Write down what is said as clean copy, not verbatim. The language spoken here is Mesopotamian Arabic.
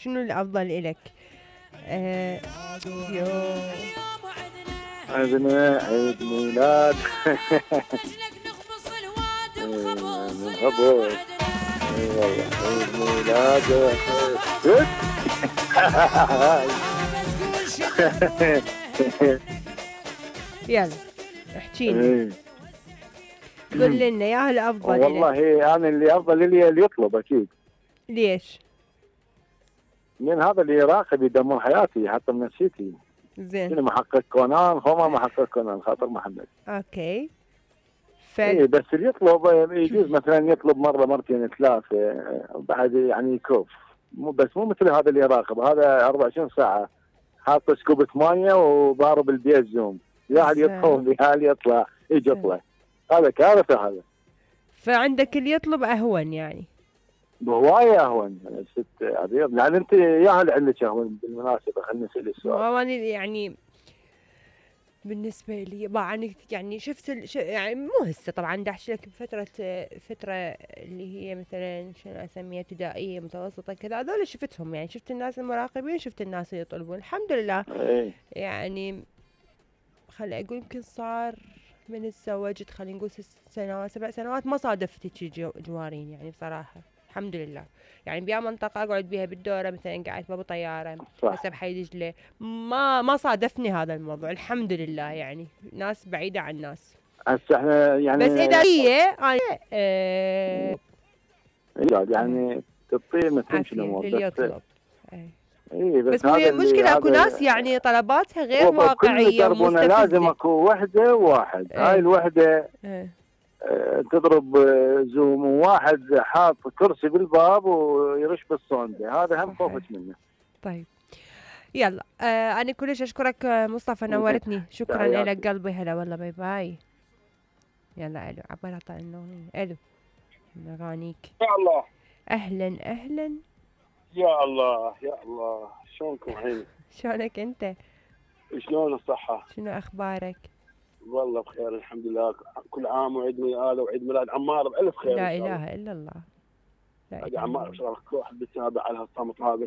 شنو الافضل الك؟ عندنا عيد ميلاد خبر. اي والله عيد ميلاد يلا احكي لنا، قول لنا يا الافضل والله انا اللي افضل لي اللي يطلب اكيد. ليش؟ من هذا اللي يراقب يدمر حياتي حتى من نفسيتي. زين. شنو محقق كونان هما محقق كونان خاطر محمد. اوكي. اي بس اللي يطلب يجوز مثلا يطلب مره مرتين ثلاثه بعد يعني يكف. مو مثل هذا اللي يراقب، هذا 24 ساعه حاط سكوبة مايه وضارب البيت زوم، يا هل يدخل يا هل يطلع يجي يطلع. هذا كارثه هذا. فعندك اللي يطلب اهون يعني؟ بهوايه اهون ست عبير، لان انت يا هل عندك اهون بالمناسبه. خليني اسال السؤال. يعني بالنسبه لي يعني شفت يعني مو هسه طبعا دا احكي لك فتره اللي هي مثلا شنو اسميها ابتدائيه متوسطه كذا، هذول شفتهم يعني، شفت الناس المراقبين، شفت الناس اللي يطلبون الحمد لله. يعني خلي اقول يمكن صار من تزوجت خلينا نقول 6 سنوات 7 سنوات ما صادفت شي جوارين يعني بصراحه الحمد لله. يعني بيا منطقه اقعد بيها بالدوره مثلا قاعد بابو طياره هسه بحي دجله ما صادفني هذا الموضوع الحمد لله. يعني ناس بعيده عن ناس. هسه احنا يعني بس اذا هي يعني تطير ما تمشي الامور اللي يطلب. اي بس هي المشكله اكو ناس يعني طلباتها غير واقعيه ومستفزه. لازم اكو وحده وواحد. هاي الوحده تضرب زوم، وواحد حاط كرسي بالباب ويرش بالصوندة، هذا هم خوفت منه. طيب يلا انا كلش اشكرك مصطفى، نورتني. شكرا لك قلبي. هلا والله باي باي. يلا الو عبال اعطى النوم. الو اغانيك يا الله. اهلا اهلا. يا الله يا الله، شلونكم عيني؟ شلونك انت؟ شلون الصحة؟ شنو اخبارك؟ والله بخير الحمد لله. كل عام وعيد ميلاد وعيد ميلاد عمار بألف خير. لا اله الا الله. لا عمار ان شاء الله كل واحد بيتابع على هالصمت هذا.